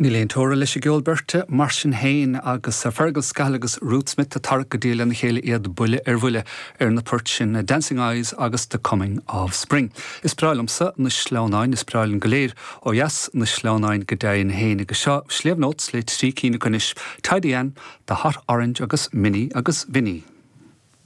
Níl aon teora leis an gceol beirte, mar sin féin, agus Fergal Scahill agus Ruth Smith ag tarrac go diail lena chéile iad buille ar bhuille ar na poirt sin Dancing Eyes agus The Coming of Spring. Is breá liomsa na sleamhnáin, is breá linn go léir ó dheas na sleamhnáin go deimhin féin agus seo Sliabh Notes le trí cinn acu anois, Tidy Ann, The Hot Orange agus Minnie agus Vinnie.